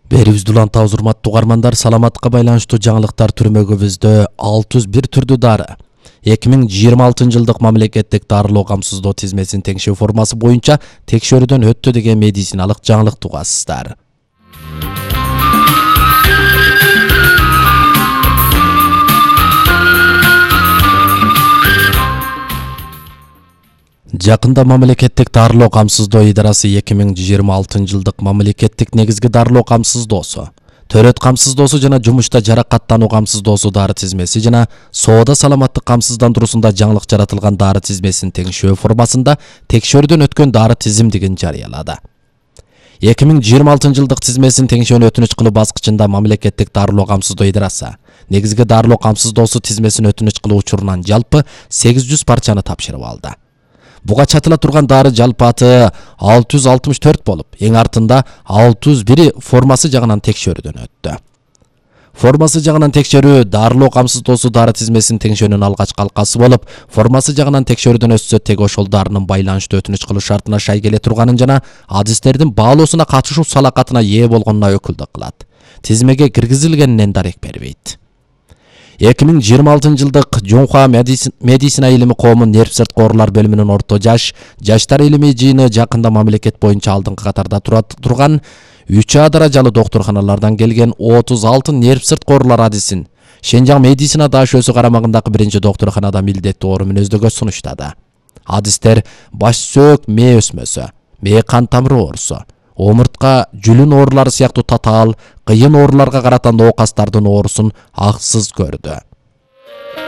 Берибизди улантабыз, урматтуу угармандар. Саламатка байланыштуу жаңылыктар түрмөгүбүздө 601 түрдүү дары 2026 жылдык мамлекеттик дарылоо камсыздоо тизмесинин теңшөө формасы боюнча текшөрүүдөн өттү деген медициналык жаңылык угасыздар. Жакында мамлекеттик дарылоо камсыздоо идарасы 2026 жылдык мамлекеттик негизги дарылоо камсыздоосу, төрөт камсыздоосу жана жумушта жаракаттануу камсыздоосу дары тизмеси жана соода саламаттык камсыздандыруусунда жаңылык жаратылган дары тизмесинин теңшөө формасында текшөрүүдөн өткөн дары тизимдигин жарыялады. 2026 жылдык тизмесинин теңшөөнү өтүнүч кылуу баскычында мамлекеттик дарылоо камсыздоо идарасы негизги дарылоо камсыздоосу тизмесин өтүнүч кылуу учурунан жалпы 800 парчаны тапшырып алды. Буга чатыла турган дары жалпы аты 664 болуп, эң артында 601 формасы жагынан текшөрүүдөн өттү. Формасы жагынан текшерүү дарылоо камсыздоосу дары тизмесинин теңшөөнүн алгачкы алкасы болуп, формасы жагынан текшөрүүдөн өтсө тег ошол дарынын байланыштуу өтүнүч кылуу шартына шай келе турганын жана адистердин баалоосуна катышуу салакатына ээ болгонуна өкүлдүк кылат. Тизмеге киргизилгенинен дарек бербейт. 2026 жылдык Жонхуа медицина илими коомун нерв-сырткы оорулар бөлүмүнүн орто жаштар илимий жыйыны жакында мамлекет боюнча алдыңкы катарда турган 3А даражалуу доктурханалардан келген 36 нерв-сырткы оорулар адисин Шенжаң медицина даашөсү карамагындагы биринчи доктурханада милдеттүү оору мүнөздөгө сунуштады. Адистер баш сөөк мээ өсмөсү, мээ кан тамыры оорусу, омуртка жүлүн оорулары сыяктуу татаал, кыйын ооруларга карата ноокастардын оорусун аксыз көрдү.